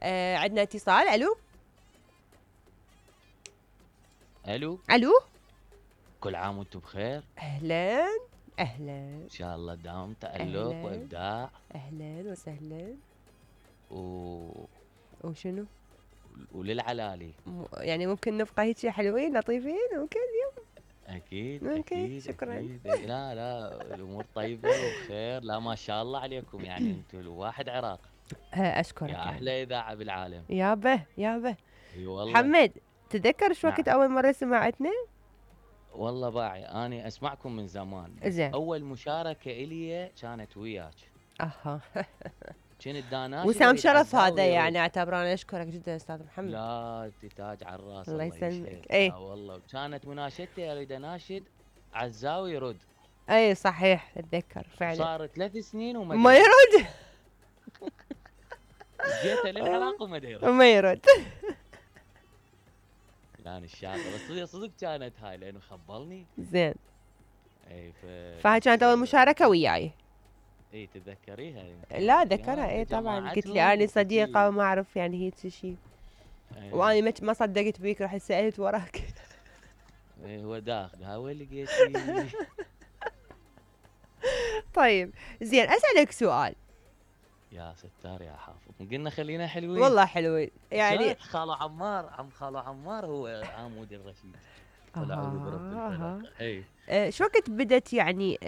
عندنا اتصال. الو الو الو. كل عام وانتم بخير. اهلا اهلا. ان شاء الله دوام تألق أهلاً. وابداع اهلا وسهلا. و... وشنو؟ وللعلالي. يعني ممكن نبقى هيك حلوين لطيفين ممكن اليوم؟ اكيد ممكن. اكيد شكرا. اكيد. لا لا الامور طيبه وبخير. لا ما شاء الله عليكم، يعني انتم الواحد عراق. اشكرك يا يعني. احلى اذاعه بالعالم. يابا يابا. اي والله. محمد، تذكر شو وقت نعم. اول مره سمعتنا؟ والله باعي اني اسمعكم من زمان، بس زين. اول مشاركه الي كانت وياك. اها. كنت داناشد وسام واريد شرف عزاوي هذا، يرد. يعني اعتبر انا اشكرك جدا استاذ محمد. لا انت تاج على الراس. الله الله يسلمك. يسعدك. اي لا والله كانت مناشدتي اريد اناشد عزاوي يرد. اي صحيح اتذكر فعلا. صار 3 سنين وما ما يرد. جيته للعراق وما يرد. ما يرد. يعني الشاطر بس صدق صدق كانت هاي لانه خبلني. زين. اي فهاي كانت اول مشاركه وياي. اي تتذكريها؟ لا ذكرها اي طبعا. قلت لي اني صديقه وما اعرف يعني هيك شيء. واني ما صدقت بيك، رحت سالت وراك. اي هو داخل ها وين لقيتي. طيب زين اسالك سؤال. يا ستار يا حافظ، قلنا خلينا حلوين. والله حلوين يعني. خالو عمار، خالو عمار هو عمودي الرشيد. ولا اعوذ برب الفلق. اي شو وقت بدت يعني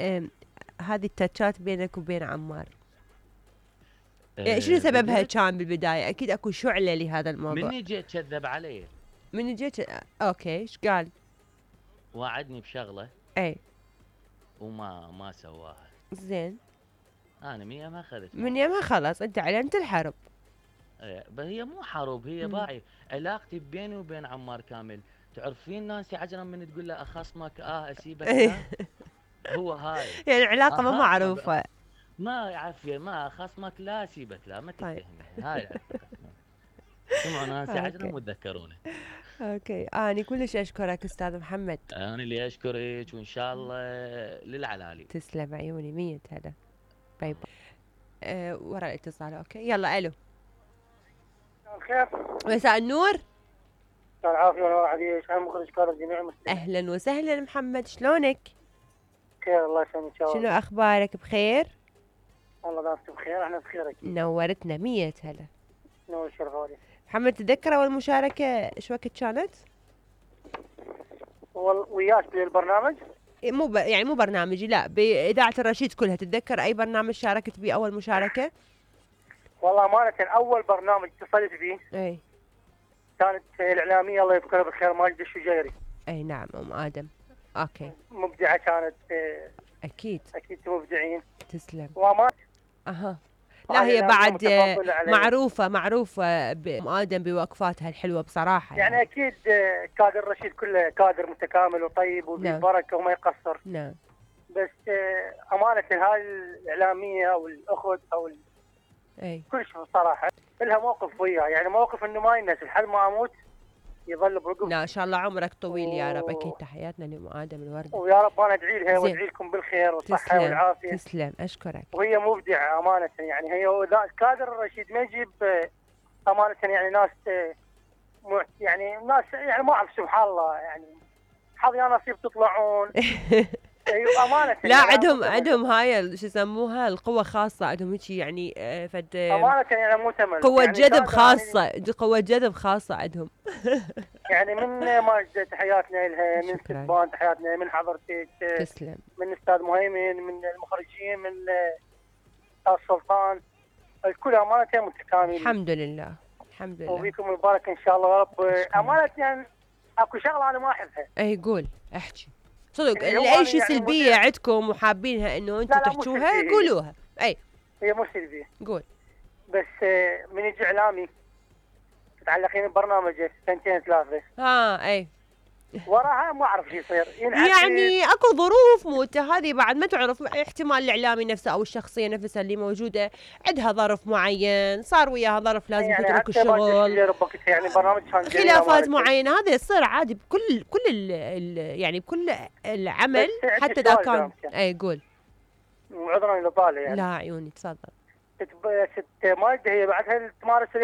هذه التاتشات بينك وبين عمار؟ يعني شنو سببها كان بالبدايه؟ اكيد اكو شعله لهذا الموضوع. مني جيت كذب علي. مني جيت اوكي ايش قال؟ وعدني بشغله اي وما سواها. زين. انا من يمها اخذت. من يمها خلاص انت اعلنت الحرب. بس هي مو حرب، هي باعي علاقتي بيني وبين عمار كامل. تعرفين نانسي عجرم من تقول له اخصمك اسيبك لا. هو هاي يعني علاقه ما معروفه. ما عافيه، ما خصمك لا اسيبك لا، ما تتهمني. هاي سمعوا نانسي عجرم وتذكرونه. اوكي اني كلش اشكرك استاذ محمد. انا اللي اشكرك وان شاء الله للعلالي. تسلم عيوني. 100 هلا. باي باي. ورا الاتصال. اوكي يلا. الو. الخير. مساء النور. العافية والله عليك. انا مخرج كار الجميع المسلمين. اهلا وسهلا محمد، شلونك؟ بخير الله يسلمك. شنو اخبارك؟ بخير؟ الله دامك بخير. احنا بخير اكيد. نورتنا. 100 هلا. نور الشرف عليك. محمد تتذكر اول مشاركه شو وقت كانت؟ وياك بالبرنامج؟ يعني مو برنامجي، لا بإذاعة الرشيد كلها. تتذكر أي برنامج شاركت به أول مشاركة؟ والله أمانة أول برنامج اتصلت فيه أي كانت الإعلامية الله يذكرها بالخير ماجدة الشجيري. أي نعم أم آدم. أوكي. مبدعة كانت. أكيد مبدعين. تسلم. وأمانة لا هي بعد معروفة بأم آدم بوقفاتها الحلوة بصراحة. يعني أكيد كادر الرشيد كله كادر متكامل وطيب وبالبركة وما يقصر. نعم. بس أمانة هاي الإعلامية أو الأخت أو أي كل شيء صراحة لها موقف وياه، يعني موقف إنه ما ينسى لحد ما أموت يظل برقبتي. لا إن شاء الله عمرك طويل يا رب. أكيد تحياتنا لأم آدم الوردة. ويا رب أنا أدعي لها وأدعي لكم بالخير والصحة والعافية. تسلم أشكرك. وهي مبدعة أمانة، يعني هي كادر الرشيد ما يجيب أمانة يعني ناس يعني ناس يعني ما أعرف سبحان الله يعني حظ يا نصيب تطلعون. ايوه امانه. لا عندهم هاي شو يسموها القوه خاصه عندهم هيك يعني فد امانه يعني مؤتمن قوه يعني جذب خاصه يعني قوه جذب خاصه عندهم. يعني من ماجدة تحياتنا لها، من سبان تحياتنا، من حضرتك تسلم، من استاذ مهيمن، من المخرجين، من استاذ سلطان، الكل امانه متكاملين. الحمد لله الحمد لله. وبيكم مبارك ان شاء الله يا رب. امانه يعني اكو شغله انا ما احبها. اي قول احكي صدق. اي شيء يعني سلبيه عندكم وحابينها انه انتم تحكوها قولوها. اي هي مو سلبيه. قول. بس من يجي اعلامي تتعلقين ببرنامجه 2 3 اي وراها ما اعرف شو يصير. يعني اكو ظروف موته هذه بعد ما تعرف. احتمال الاعلامي نفسه او الشخصيه نفسها اللي موجوده عندها ظرف معين صار وياها ظرف لازم يعني تترك الشغل يعني برنامج كان خلافات معينه. هذا يصير عادي بكل يعني بكل العمل حتى اذا كان. اي قول. وعذرا اذا طالع يعني. لا عيوني تفضل. ست ماجدة هي بعدها تمارس